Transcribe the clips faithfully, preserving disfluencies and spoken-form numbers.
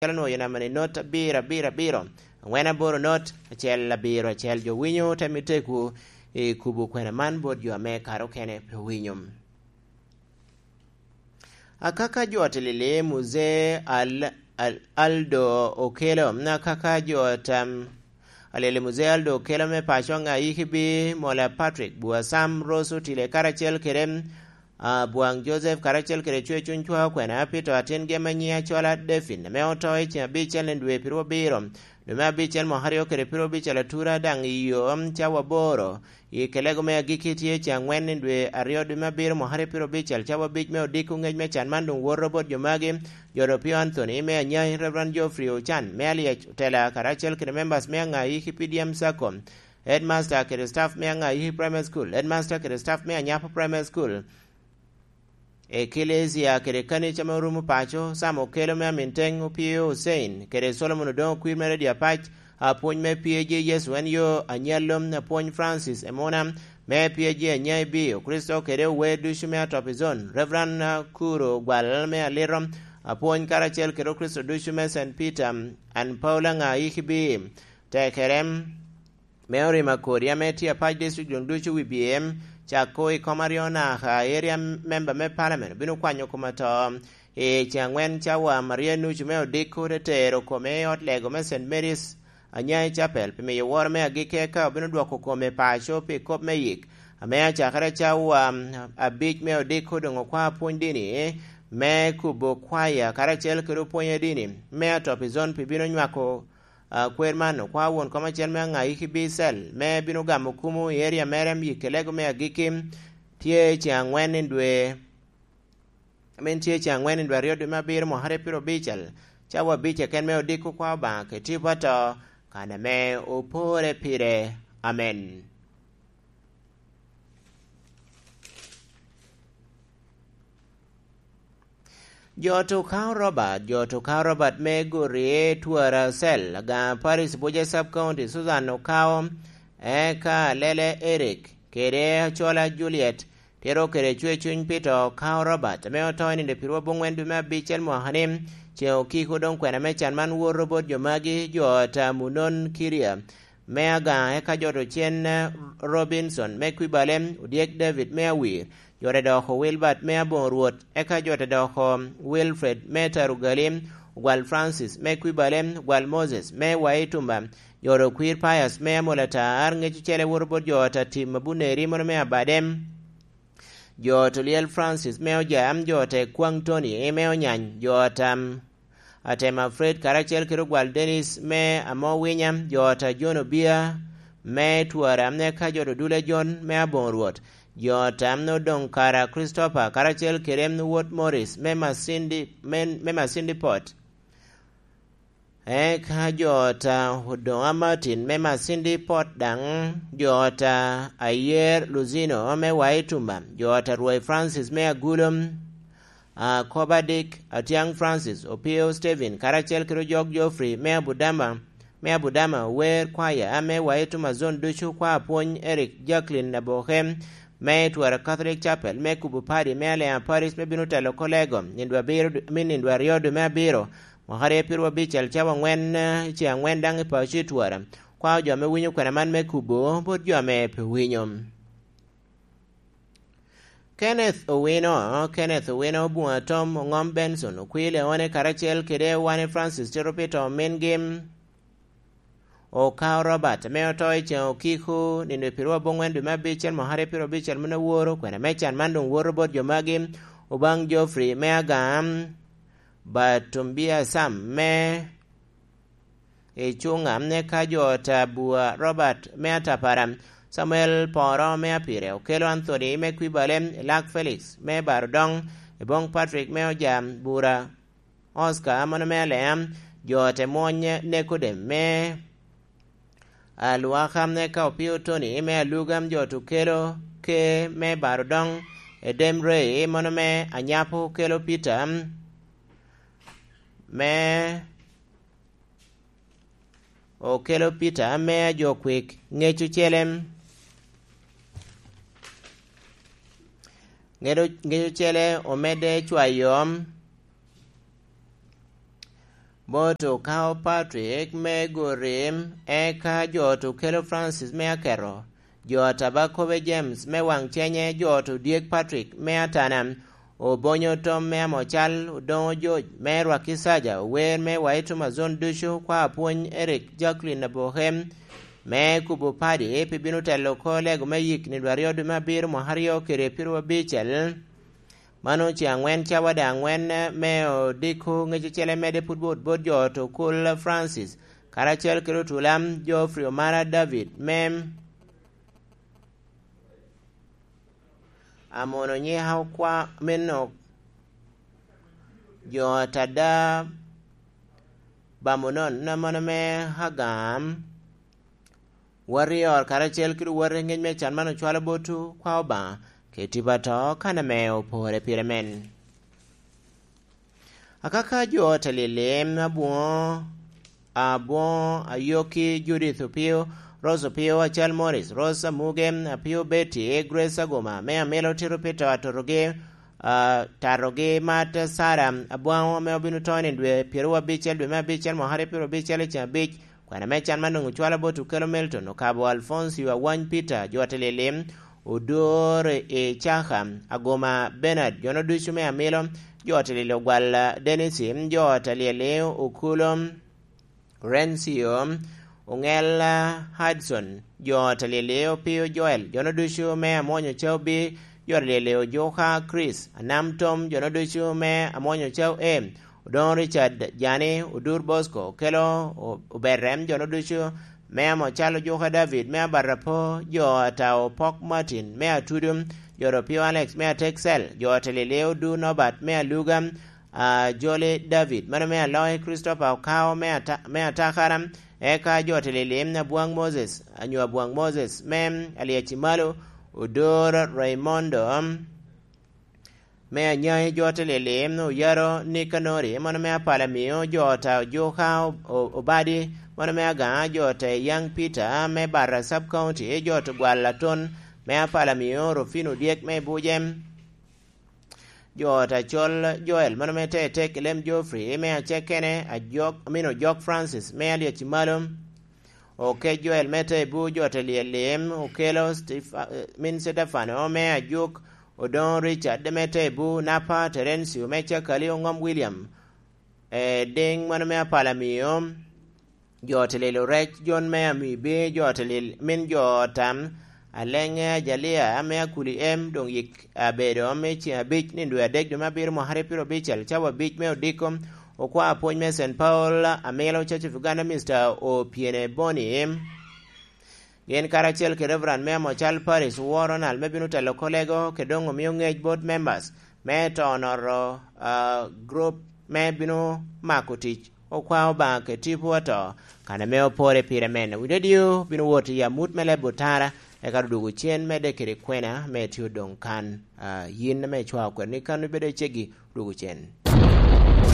acel onwoŋo yo namba ni not abiro abiro abiro, angwen aboro not acel abiro acel. Jo winyo te mitte ku i kubo kwena man bot jo ame kare okene pe winyo. Akaka jo tilili Muzee Al-, Al-, Aldo Okelo, akaka jo tam alili Muzee Aldo Okelo me paco ŋa Ikibi, Mola Patrick, Bua Sam, Rose Otile, karacel kede, ah, Bwaŋ Joseph, karacel kede Cwe Cuny Cwa Okwena, Peter atin gem anyiŋ acola Devin, ame oto i ceŋ abicel i dwe pirwo abiro, dwe me abicel mwaka aryo kede pirwo abicel atura daŋ i yo cawa aboro. I kelego me agikki tye ceŋ angwen i dwe aryo dwe me abiro mwaka aryo pirwo abicel cawa abic me odiko ŋec me can man doŋ woto bot jo magi, jo Opio Anthony me Anyai, Reverend Geoffrey Ochan me Alyec Otela, karacel kede members me aŋa i Kipidiam Sacco, headmaster kede staff me aŋa i Primary School, headmaster kede staff me Anyapo Primary School, Ekelesia kede kanica ame orumo paco, Sam Okelo me Aminteng, Opio Hussein, kede Solomon Odongo Kwir me Redio Apac, apwony me P A G Yecu en yo anyallo, apwony Francis Emuna me P A G Anyai Bio Kricito kede ower ducu me Atop Zone, Reverend Kuro Gwal me Alito, apwony karacel kede Okricito ducu me Saint Peter and Paul aŋa Ikibi, tekerem me orima kodi ame tye apac district doŋ ducu wi B M, cako i kom aryo naka area member me parliament obino kwanyo kom ato. I ceŋ angwen cawa Maria Nucu me Odiko te tero kome i ot lego me Saint Mary's Anyai Chapel pi miyo woro me agikki, eka obino dwoko kome paco pi kop me yik ame acakere cawa abic me Odiko doŋ okwa pwony dini me kubo kwaya karacel kede opwony dini me Atop Zone pi bino nywako a, kwer man, okwa won kom acel me aŋa Ikibi Cell, me bino gamo kumu i area mere, i kelego me agikki, tye ceŋ angwen i dwe, amin tye ceŋ angwen i dwe aryo dwe me abiro mwaka aryo piro abicel, cawa abic keken me Odiko kwa Obaŋa kede tipo ato, kan ame opore pire. Amen. Jo to Okao Robert, jo to Okao Robert me Gorie, Twara Cell, Agaŋa Parish, Buja Sub County, Susan Okao, eka Lele Eric, kede Acola Juliet, tero kede Cwe Cuny Peter Okao Robert, ame oto i nino piro abongwen dwe me abicel mwaka ni, ceŋ okiko doŋ kwena me can man woto bot jo magi, jo ot a Munon Kiria, me Agaŋa, eka jo to Cen, eh, Robinson me Kwibale, Odyek David me Awir, jo to doko Wilbert me Aboŋo Rwot, eka jo to doko Wilfred me Tarugali, Ogwal Francis me Kwibale, Ogwal Moses me Waitumba, jo to Kwir Pius me Amolatar, ŋec ocele woto bot jo ot a Tim Abuneri mono me Abadem, jo to Lyel Francis me Ojam, jo to Ekwaŋ Tony me Onyany, jo ot a Atema Fred karacel kede Ogwal Dennis me Amowinya, jo ot a John Obia me Twara, eka jo to Dule John me Aboŋo Rwot, jo ot a Odongo Kara Christopher karacel kede wot Morris me Masindi, me, me Masindi Port. Eka jo ot a Odoŋa Martin me Masindi Port daŋ, jo ot a Ayer Luzino me Waitumba, jo ot a Rwai Francis me Agulom, Akoba Dick, Atiaŋ Francis, Opio Stephen, karacel kede Ojok Geoffrey me Abudama, me Abudama, Ower Kwaya ame Waitumba Zone ducu, kwa apwony Eric Jacqueline Aboke, me Twara Catholic Chapel, me Kubu Padi, me Alea Parish, me bino telo kolego, nindo abiro, me nindo aryo dwe me abiro, mwaka aryo piro abicel cawa angwen, eh, ceŋ angwen daŋ i paco i Twara. Kwao jo ame winyo kwena man me kubo bot jo ame pe winyo. Kenneth Owino, Kenneth Owino, Bunga Tom, Oŋom Benson, Okwir Leone, karacel kede Wane Francis Tito Peter omingi, Okao Robert, ame oto i ceŋ okiko, nino piro abongwen dwe me abicel, mwaka aryo piro abicel mene woro, kwena me can man doŋ woto bot jo magi, Obaŋ Geoffrey me Agam, Batumbia Sam me Icuŋa, eka jo ot a Bua Robert me Atapara, Samuel Poro me Apire, Okelo Anthony me Kwibale, Elak Felix me Barodoŋ, Eboŋ Patrick me Ojam, Bura Oscar mono me Alea, jo ot a Emwony Nekodem me Alwaka, eka Opio Tony me Aluga, jo ot Okelo Ke me Barodoŋ, Edem Ray mono me Anyapo, Okelo Peter me Okelo Peter ame ajokwik, ŋec ocele, ŋec o-, ŋec ocele omedde cwayo. Moto okawo Patrick me Gorim, eka jo ot okelo Francis me Aketo, jo ot Abakobe James me Waŋcenye, jo ot Odyek Patrick me Atana, Obonyo Tom me Amocal, Odoŋo George me Rwaki Saja, ower me Waito Mazon ducu, kwa apwony Eric Jacqueline Aboke me kubo padi, pi bino telo oko lego me yik ni dwaryo dwe me abiro mwaka aryo kede pyeraryo abicel. Mano ce aŋwen cawa daŋ aŋwen me odiko ŋec ocele medde put bot bot jo ot okul Francis, karacel kede otula Geoffrey Omara David me Amono nyika okwa meno jo ot ada Bamonon, amono me Hagam, warior karacel kede wati ŋec me can man ocwalo botwu kwa Obaŋa, keti ba to kan ame opore pire men. Akaka jo ot Alilim, Abwoŋo, Abwoŋo, Ayoki, Judith Opio, Rose Opio, Acal Morris, Rose Amuge, Apio Betty, Grace Agoma, me Amilo Tito Peter Atorogi, ah, Tarogi, Mat Sara Abwaŋo, ame obino to ni dwe pyeraryo abicel, dwe me abicel, mwaka aryo pyeraryo abicel, i ceng abic, kwana me can man doŋ ocwalo bot Okelo Milton, okabo Alfoncio Awany Peter, jo ot Alilim, Odor Icaka, Agoma Bernard, jono ducu me Amilo, jo ot Alilim Ogwal Dennis, jo ot Alilim Okulo, Rencio, Oŋel Hudson, jo ot Alilim Opio Joel, jono ducu me Amwonyo Caubi, jo ot Alilim Ojuka Chris, Anam Tom, jono ducu me Amwonyo Cau E, Odoŋo Richard Jani, Odur Bosco, Okelo O-, Oberem, jono ducu me Amocal Ojuka David, me Abarapo, jo ot Opok Martin, me Atudu, jo ot Opio Alex, me Atexel, jo ot Alilim Odur Norbert, me Aluga, a, Jolly David, mano me Aloŋe Christopher Okao, me Ata-, me Atakara, eka jo ot Alilim Abwaŋ Moses, anyo Abwaŋ Moses, me Aliaci Malo, Odor Raymondo, me Anyaŋi, jo ot Alilim Oyaro Nikanori, mano me Apala Mio, jo ot Ojuka O-, O-, Obadi, mano me Agaŋa, jo ot Yaŋ Peter, me Bata Sub County, jo ot Gwal Aton, me Apala Mio, Rufino Dyek, me Buje, jo ot Acol Joel, mano me Tetek Lem Geoffrey, me Acekene, Ajok, Amino Jok Francis, me Alyeci Malo, Oke Joel, me Tebu, jo ot Alilim, Okelo Stefa-, eh, min Stefano, me Ajuk, Odoŋo Richard, me Tebu, Napa Terencio, me Cakali, Oŋom William, eh, Diŋ, mano me Apala Mio, jo ot Lilo Rec, Jon me Amibi, jo ot Lil-, min jo tam, Aleŋe Ajalia, ame Akuli Em, doŋ yik abedo me ceŋ abic, ni dwe adek, dwe me abiro, mwaka aryo pyeraryo abicel, cawa abic me odiko, okwa apwony me Saint Paul, Amilo Church of Uganda, Mister Opiene Boni. Gin karacel kede Reverend me Amocal Parish, Wor Ronald, me bino telo kolego, kede doŋ omio ŋec bot members me to noro, ah, group me bino mako tic, okwa Obaŋa kede tipo ato, kan ame opore pire men. Wi radio bino wot i amut me leb otara, eka odwogo cen medde kede kwena me tye odoŋ kan. Ah, yin ame icwao kwena ni kan ibedo i ceggi, dwogo cen.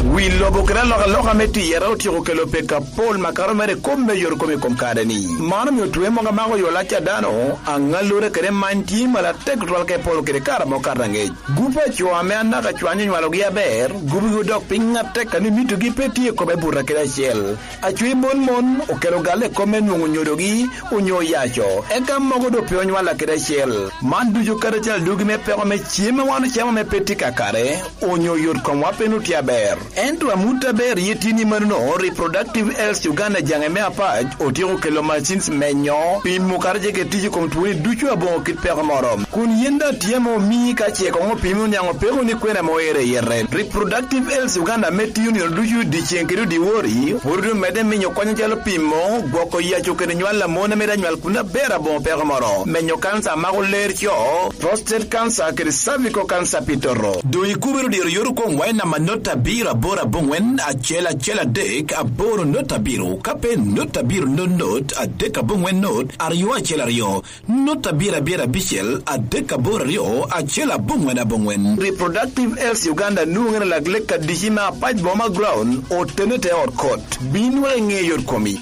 Wi lobo kede alokaloka me tiyere otyeko kelo pek apol makato mere i kop me yot kom i kom kare-ni. Man omio twe mogo amako yo lac a dano, aŋallure kede many tye malatek tutwal ka iporo kede kare amo kato aŋec. Gup a co ame anaka cwany onywalogi aber, gubigi odok piny atek, ka ni mitogi pe tye i kome buto kede acel. Acwe mon mon okelo galle i kop me nwoŋo nyodogi onyo yaco, eka mogo doŋ pe onywalla kede acel. Man ducu kadi acel adugi me peko me cem ma wan ocamo ame pe tye kakare, onyo yot komwa pe nwoŋo tye aber. Ento amut aber ye tye ni manono, Reproductive Health Uganda jaŋe me apac otyeko kelo machines menyo, pimo kadi ce kede tic i kom twoni ducu aboŋo kit peko moro. Kun yen daŋ tye ame omii ka ce koŋ opimi oniaŋ opeko ni kwena ame oero i yete. Reproductive Health Uganda ame tiyo nino ducu dyeceŋ kede odiwori, pwod omedde miyo kony acalo pimo, gwoko yaco kede nywal a mon ame daŋ nywal kun aber aboŋo peko moro, menyo kansa a mako ler co, prostate cancer kede cervical cancer pi toto. Doŋ ikubere odiro yot okoŋ wa i namba not abiro aboro aboŋwen acel acel adek aboro not abiro, ka pe not abiro not not adek aboŋwen not aryo acel aryo. Not abiro abiro abicel adek aboro aryo acel aboŋwen aboŋwen. Reproductive Health Uganda nwoŋere lak lek adici me apac boma ground, otene te ot kot. Bin wek iŋe yot komi.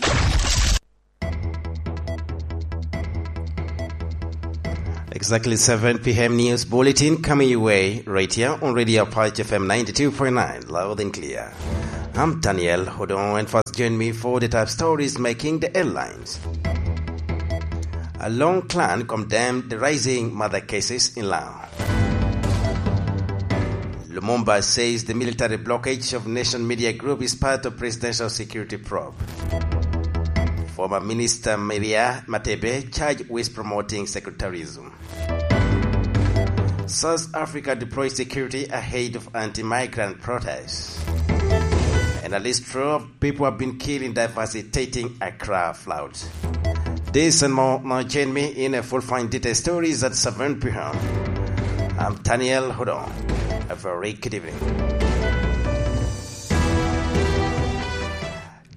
Exactly seven p m news bulletin coming your way right here on Radio Apache F M ninety-two point nine, loud and clear. I'm Daniel Hodong, and first join me for the top stories making the headlines. A Long clan condemned the rising murder cases in Lango. Lumumba says the military blockage of Nation Media Group is part of presidential security probe. Former Minister Maria Matebe charged with promoting secretarism. South Africa deploys security ahead of anti-migrant protests. And at least twelve people have been killed in devastating Accra floods. This and more, now join me in a full fine detail stories at seven p.m. I'm Daniel Hodong. A very good evening.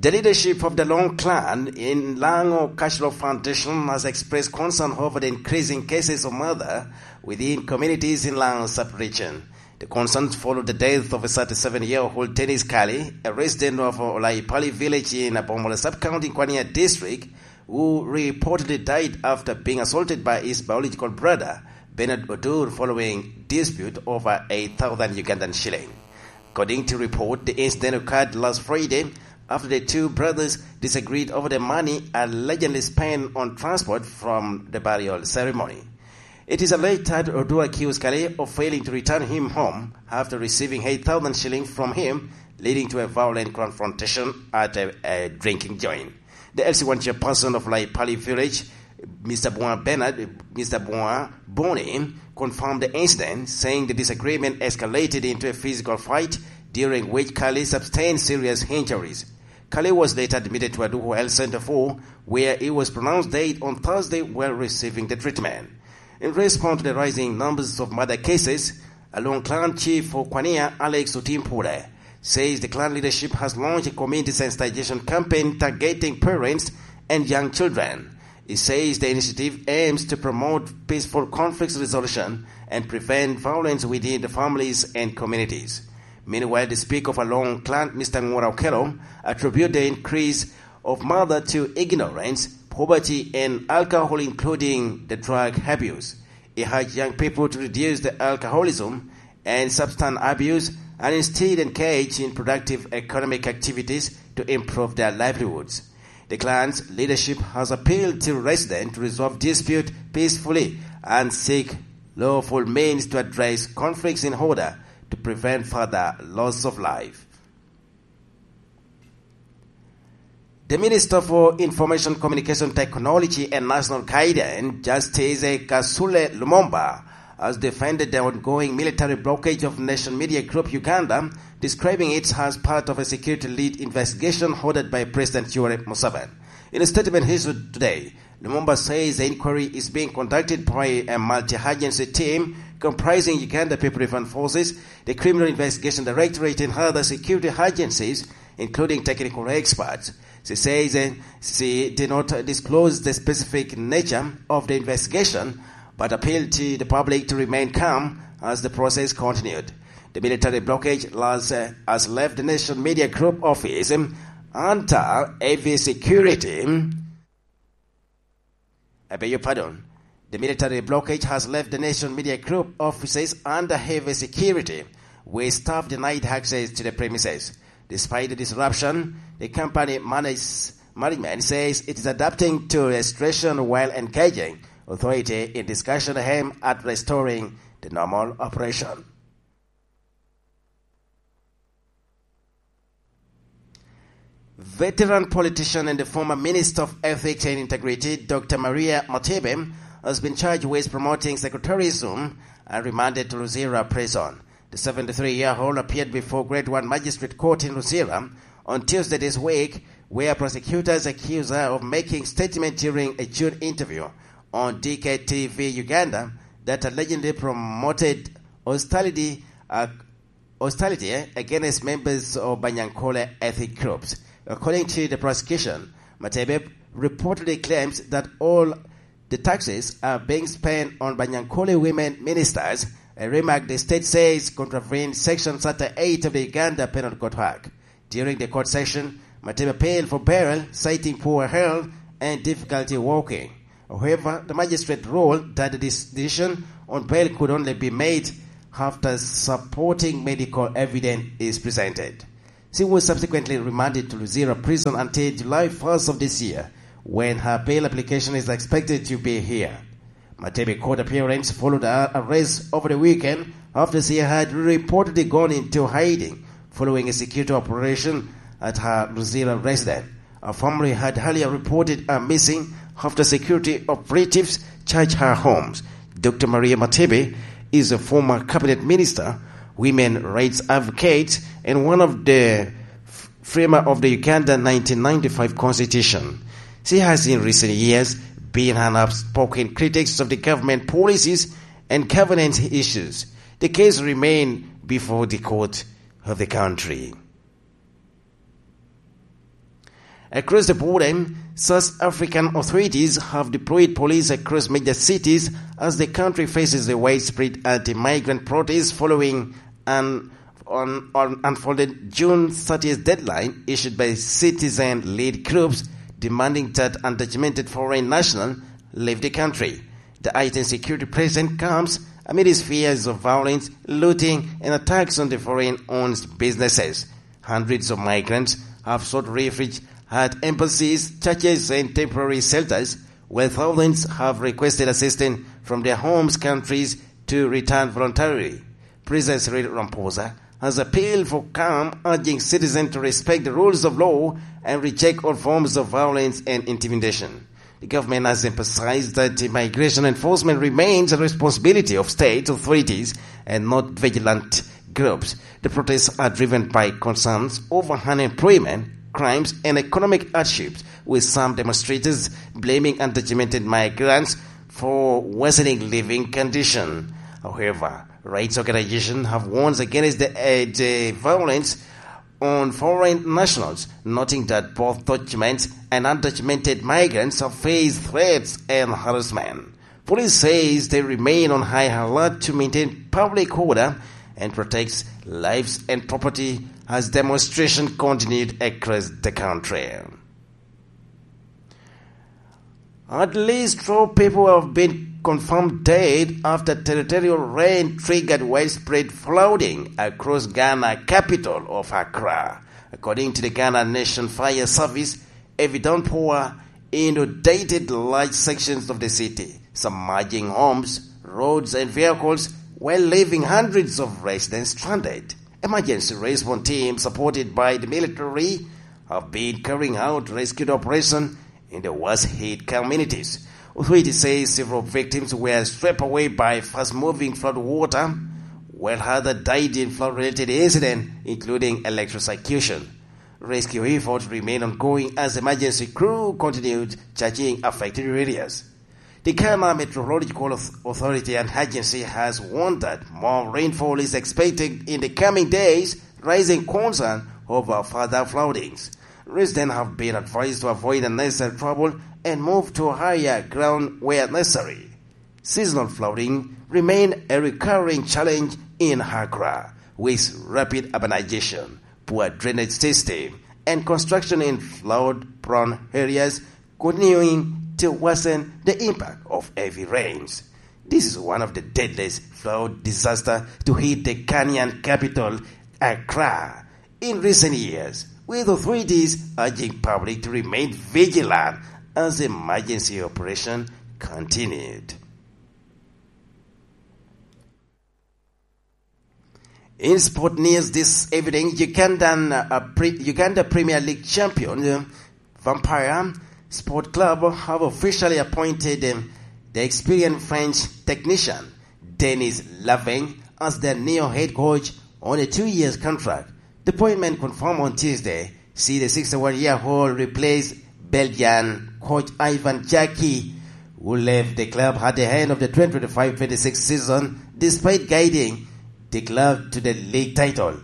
The leadership of the Long clan in Lango Cultural Foundation has expressed concern over the increasing cases of murder within communities in Lango sub-region. The concerns follow the death of a thirty-seven-year-old Dennis Kali, a resident of Olaipali village in Abomola sub-county in Kwania district, who reportedly died after being assaulted by his biological brother, Bernard Odur, following dispute over a thousand Ugandan shilling. According to report, the incident occurred last Friday after the two brothers disagreed over the money allegedly spent on transport from the burial ceremony. It is alleged that Odur accused Kale of failing to return him home after receiving eight thousand shillings from him, leading to a violent confrontation at a, a drinking joint. The L C one chairperson of Laipali village, Mister Bua Bernard, Mister Bua Boni, confirmed the incident, saying the disagreement escalated into a physical fight, during which Kali sustained serious injuries. Kali was later admitted to Aduhu Health Center four, where he was pronounced dead on Thursday while receiving the treatment. In response to the rising numbers of murder cases, Along clan chief for Kwania, Alex Otimpule, says the clan leadership has launched a community sensitization campaign targeting parents and young children. He says the initiative aims to promote peaceful conflict resolution and prevent violence within the families and communities. Meanwhile, the speaker of Along clan, Mister Ngura Okello, attributed the increase of murder to ignorance, poverty, and alcohol, including the drug abuse. He urged young people to reduce the alcoholism and substance abuse and instead engage in productive economic activities to improve their livelihoods. The clan's leadership has appealed to residents to resolve dispute peacefully and seek lawful means to address conflicts in order to prevent further loss of life. The Minister for Information, Communication, Technology and National Guidance, Justice Kasule Lumumba, has defended the ongoing military blockage of Nation Media Group Uganda, describing it as part of a security-led investigation ordered by President Yoweri Museveni. In a statement issued today, Lumumba says the inquiry is being conducted by a multi-agency team comprising Uganda People Defense Forces, the Criminal Investigation Directorate, and other security agencies, including technical experts. She says, uh, she did not disclose the specific nature of the investigation, but appealed to the public to remain calm as the process continued. The military blockage has, uh, has left the Nation Media Group office, um, under heavy security. I beg your pardon. The military blockage has left the Nation Media Group offices under heavy security, with staff denied access to the premises. Despite the disruption, the company manage-, management says it is adapting to a situation while engaging authority in discussion aimed at restoring the normal operation. Veteran politician and the former Minister of Ethics and Integrity, Doctor Maria Matebe, has been charged with promoting secretarism and remanded to Luzira Prison. The seventy-three-year-old appeared before Grade One Magistrate Court in Luzira on Tuesday this week, where prosecutors accused her of making statement during a June interview on D K T V Uganda that allegedly promoted hostility, uh, hostility, eh, against members of Banyankole ethnic groups. According to the prosecution, Matebe reportedly claims that all the taxes are being spent on Banyankole women ministers, a remark the state says contravenes Section thirty-eight of the Uganda Penal Code Act. During the court session, Matebe appealed for bail, citing poor health and difficulty walking. However, the magistrate ruled that the decision on bail could only be made after supporting medical evidence is presented. She was subsequently remanded to Luzira Prison until July first of this year, when her bail application is expected to be heard. Matebe court appearance followed her arrest over the weekend after she had reportedly gone into hiding following a security operation at her Luzira residence. Her family had earlier reported her missing after security operatives searched her homes. Doctor Maria Matebe is a former cabinet minister, women rights advocate, and one of the f-, framer of the Uganda nineteen ninety-five constitution. She has in recent years been an outspoken critic of the government policies and governance issues. The case remain before the court of the country. Across the border, South African authorities have deployed police across major cities as the country faces a widespread anti-migrant protest following an on, on unfolded June thirtieth deadline issued by citizen-led groups demanding that undocumented foreign nationals leave the country. The heightened security presence comes amid fears of violence, looting, and attacks on the foreign-owned businesses. Hundreds of migrants have sought refuge at embassies, churches, and temporary shelters, while thousands have requested assistance from their homes countries to return voluntarily. President Cyril Ramaphosa has appealed for calm, urging citizens to respect the rules of law and reject all forms of violence and intimidation. The government has emphasized that the migration enforcement remains a responsibility of state authorities and not vigilant groups. The protests are driven by concerns over unemployment, crimes, and economic hardships, with some demonstrators blaming undocumented migrants for worsening living conditions. However, rights organizations have warned against the, uh, the violence on foreign nationals, noting that both documented and undocumented migrants have faced threats and harassment. Police says they remain on high alert to maintain public order and protect lives and property as demonstration continued across the country. At least twelve people have been confirmed dead after territorial rain triggered widespread flooding across Ghana capital of Accra. According to the Ghana Nation Fire Service, heavy downpour inundated large sections of the city, submerging homes, roads, and vehicles, while leaving hundreds of residents stranded. Emergency response teams supported by the military have been carrying out rescue operation in the worst hit communities. Authorities say several victims were swept away by fast-moving flood water, while others died in flood-related incidents, including electrocution. Rescue efforts remain ongoing as emergency crew continued searching affected areas. The Ghana Meteorological Auth-, Authority and Agency has warned that more rainfall is expected in the coming days, raising concern over further floodings. Residents have been advised to avoid unnecessary trouble and move to higher ground where necessary. Seasonal flooding remain a recurring challenge in Accra, with rapid urbanization, poor drainage system, and construction in flood-prone areas continuing to worsen the impact of heavy rains. This is one of the deadliest flood disaster to hit the Ghanaian capital, Accra, in recent years, with authorities urging public to remain vigilant as emergency operation continued. In sport news this evening, Ugandan, uh, pre-, Uganda Premier League champion, uh, Vampire Sport Club have officially appointed, um, the experienced French technician, Denis Laveng, as their new head coach on a two-year contract. The appointment confirmed on Tuesday see the sixty-one-year-old replace Belgian coach Ivan Jaki, who left the club at the end of the twenty twenty-five twenty-six season despite guiding the club to the league title.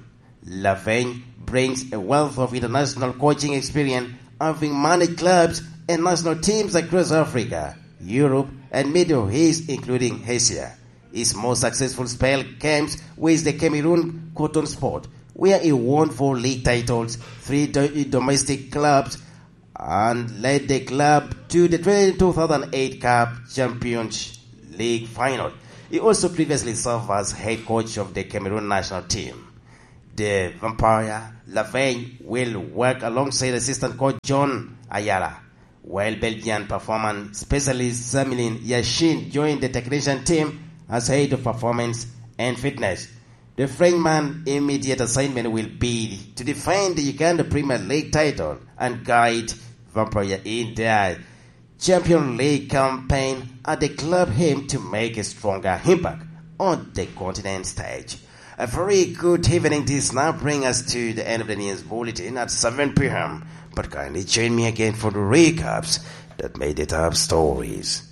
Laveng brings a wealth of international coaching experience, having managed clubs and national teams across Africa, Europe, and Middle East, including Asia. His most successful spell came with the Cameroon Coton Sport, where he won four league titles, three do-, domestic clubs, and led the club to the twenty, two thousand eight Cup Champions League final. He also previously served as head coach of the Cameroon national team. The Vampire Laverne will work alongside assistant coach John Ayala, while Belgian performance specialist Samilin Yashin joined the technician team as head of performance and fitness. The Frenchman's immediate assignment will be to defend the Uganda Premier League title and guide Vampire in their Champion League campaign, and the club aim to make a stronger impact on the continent stage. A very good evening. This now brings us to the end of the news bulletin at seven p.m., but kindly join me again for the recaps that made the top stories.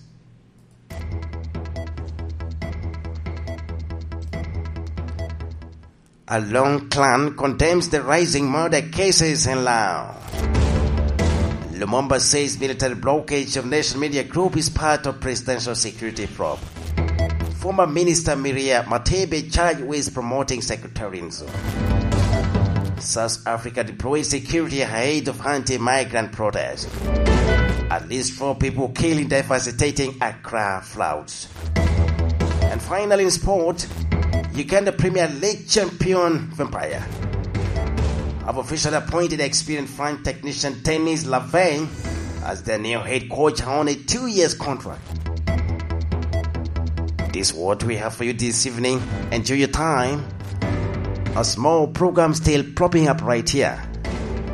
Along clan condemns the rising murder cases in Lao. Lumumba says military blockage of Nation Media Group is part of presidential security probe. Former Minister Miria Matebe charged with promoting sectarianism. South Africa deploys security ahead of anti-migrant protest. At least four people killed in devastating Accra floods. And finally, in sport, Uganda Premier League champion Vampire have officially appointed experienced French technician Denis Lavey as their new head coach on a two years contract. This is what we have for you this evening. Enjoy your time. A small program still propping up right here.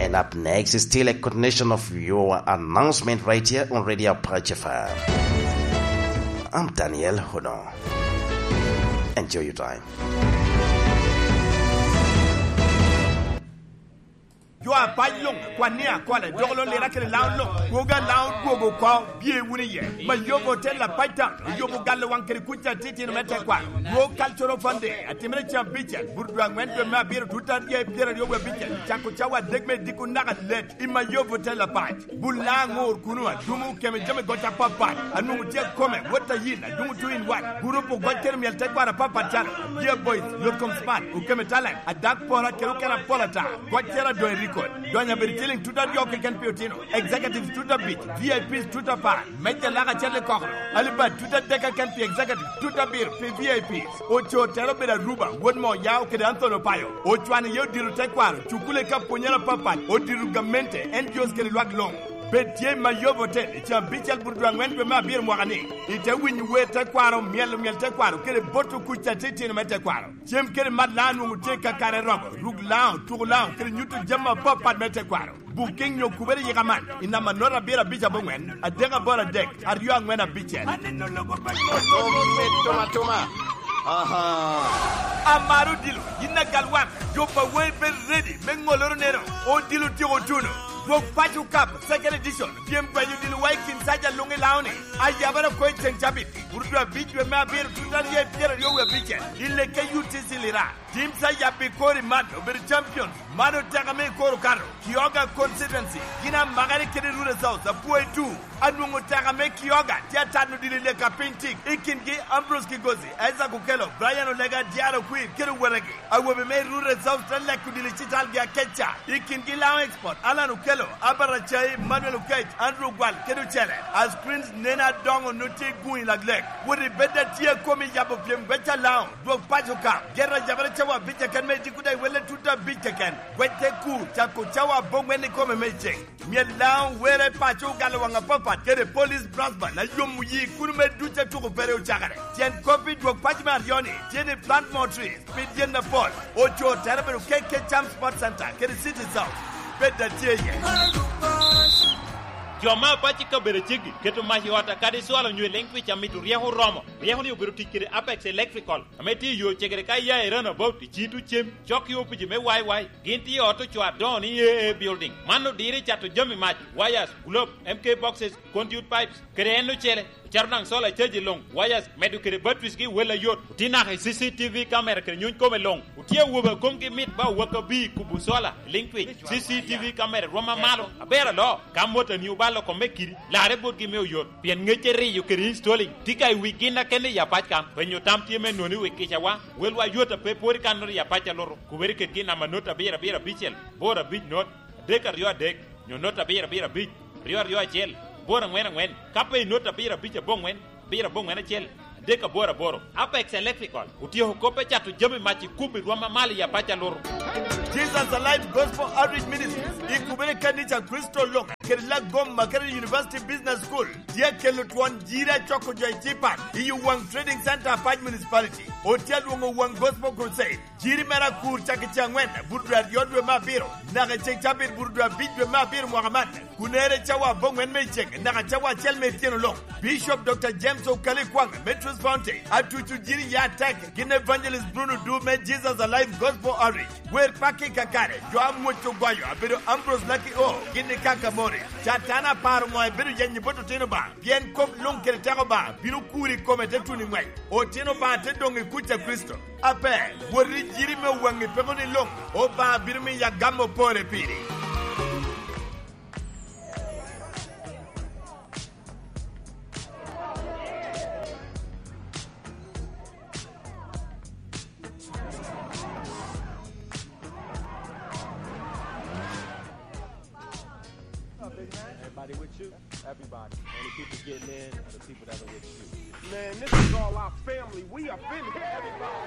And up next is still a continuation of your announcement right here on Radio Apache F M. I'm Daniel Hono. Enjoy your time. Jo apac luŋ, kwan ni akola, dok lo lira kede Laŋo luŋ, kwogo a Laŋo dwogo oko, bye wunu iye. Mayobo Hotel Apac Town, oyobo galo waŋ kede kuc atitino me tekwaro. Dwog Cultural Fund Day, atimere cen abicel, burudwa aŋwen dwe me abiro, tut aryo i pyeraryo wie abicel, cako cawa adek me diko naka let, i Mayobo Hotel Apac. Bul Laŋo ŋor kuno, adumo keme jami goc apapat, anwoŋo tye akome, wot a yin, adumo two in one, gurup ogoc kede myel tekwaro apapat calo, Dear Boys, Yotkom Smart, Okeme Talent, Adak Pora kede okene apol ata, goc cero adoŋ i record, donyo abedo ciliŋ tut aryo keken pi otino, executives tut abic, V I Ps tut apar, meja lak acel i kokoro, Alibad tut adek keken pi executive, tut abiro pi V I Ps, Ocoo Tero obedo Aruba, wot Moyao kede Anthony Opayo, ocwano iye odito tekwaro, cukule ka pwonyere apapat, odito gamente, N G Os kede lwak luŋ. Bed tye i Mayobo Hotel i caa abicel burudwa aŋwen dwe me abiro mwaka ni, ite winyo wer tekwaro, myelo myel tekwaro, kede boto kuc atitino me tekwaro. Cem kede mat Laŋo nwoŋo tye kakare romo, ruk Laŋo, tuko Laŋo, kede nyuto jami apapat me tekwaro. Booking nyo kubere yika man, i namba nota abiro abic aboŋwen, adek aboro adek, aryo aŋwen abicel. Aneno lobo pa Tom, tom atoma. Aha. Amaro odilo, yin agal wang, jo pa wei bed ready, me ŋoloro neno, odilo tyeko tuno. Dwog Paco Cup, second edition, pyem dwanyo odilo wa i kin saja luŋ i Laŋo ni, ayabara ko i ceŋ cabit, burudwa abic dwe me abiro, tut aryo i pyeraryo wie abicel, i lekke U T C Lira. Teams a yabbi kor i man obedo champions, man oteka me i kor okato, Kioga constituency, gin amakere kede Rural South, apwoyo tu, anwoŋo oteka me Kioga, tye atano dilo i leka piny tik, i kingi Ambrose Kigozi, Isaac Okello, Brian Olega, Diaro Kwir, kede owetegi. Awobe me Rural South te leko dilo i citalgi akeca, i kingi Laŋo Export, Alan Okello, Albert Acai, Manuel Okech, Andrew Ogwal, kede ocele. As Prince neno adoŋo nut tye i guŋ i laglek, wot i bed atye a komi yabo pyem gweca Laŋo. Dwog paco ka, ger a jabere cawa abic keken me diko daŋ iwelle tut abic keken. Gwec te ku, cako cawa aboŋwen ikome me ceŋ. Myel Laŋo were paco ogalo waŋ apapat kede Police Brass Band, ayomo yi kuno me duc a tuko pere ocakere. Tyen kop i dwog paco me aryo-ni tye ni plant more trees, pid yen apol. Ocoo tere bedo keke Cham Sport Center kede City South. Bed atye iye. Jo me apac i kabedo aceggi keto mac i ot akadi cwalo nyo i liŋ twic amito ryeko oromo. Ryeko ni obedo tic kede Apex Electrical, ame tye i yo cegere ka iya i Runabout i Citu Cem, cok i opici me Y Y. Gin tye i ot ocoo adoŋo ni A A Building. Man odiro i cato jami mac, wires, globe, M K boxes, conduit pipes, kede en ocele. Ocato daŋ solar charge luŋ, wires, medo kede batteries gi wel ayot. Otye naka i C C T V camera kede nyuny kome luŋ. Otye awobe a komgi mit ba owak abir i kubo solar, liŋ twic, C C T V camera rwom amalo, aber aloo. Ka motani obalo kome kidi, larre botgi me oyot, pien ŋecce riyo kede installing tye ka i wi gin akene i apac kan. Penyo tam tye me noni wi kicawa, welwa yot a pe pwod i kan noti i apac a luto. Kubere kedgi i namba not abiro abiro abicel, boro abic not, adek aryo adek, nyo not abiro abiro abic, aryo aryo acel, boro aŋwen aŋwen, ka pe i not abiro abic aboŋwen, abiro aboŋwen acel, adek aboro aboro. Apex Electrical otyeko kop me cato jami mac i kubo i rwom amalo i apac a luto. Jesus Alive Gospel Outreach Ministries i kubere kanica Kricito luŋ kede Lagoma kede University Business School tye akelo twon jiri acoko jo i Cipan i Owaŋ Trading Center, Apac Municipality. Otye alwoŋo Owaŋ Gospel Crusade. Jiri mere akur cak i ce aŋwen, buto dwe aryo dwe me abiro, naka i ce cabit, buto dwe abic dwe me abiro mwaka man. Kunere cawa aboŋwen me iceŋ, naka cawa acel me ityeno luŋ. Bishop Doctor James Okali Kwaŋ me Truth Fountain, atuco jiri ya atek, gin Evangelist Bruno Du me Jesus Alive Gospel Outreach. Wer pakki kakare, jo a mwoc ogoyo, abedo Ambrose Lucky O, gin i Kaka Morris. Catana aparo ŋo ebedo yenyo bot otino ba, pien kop luŋ kede teko ba, bino kuri i kome te tuno i ŋwec. Otino ba te doŋ i kuc a Kricito. Ape, wot i jiri me waŋi peko ni luŋ, Obaŋa bino miyo agam opore piri. Everybody with you? Everybody. Only people getting in are the people that are with you. Man, this is all our family. We up in here. Everybody.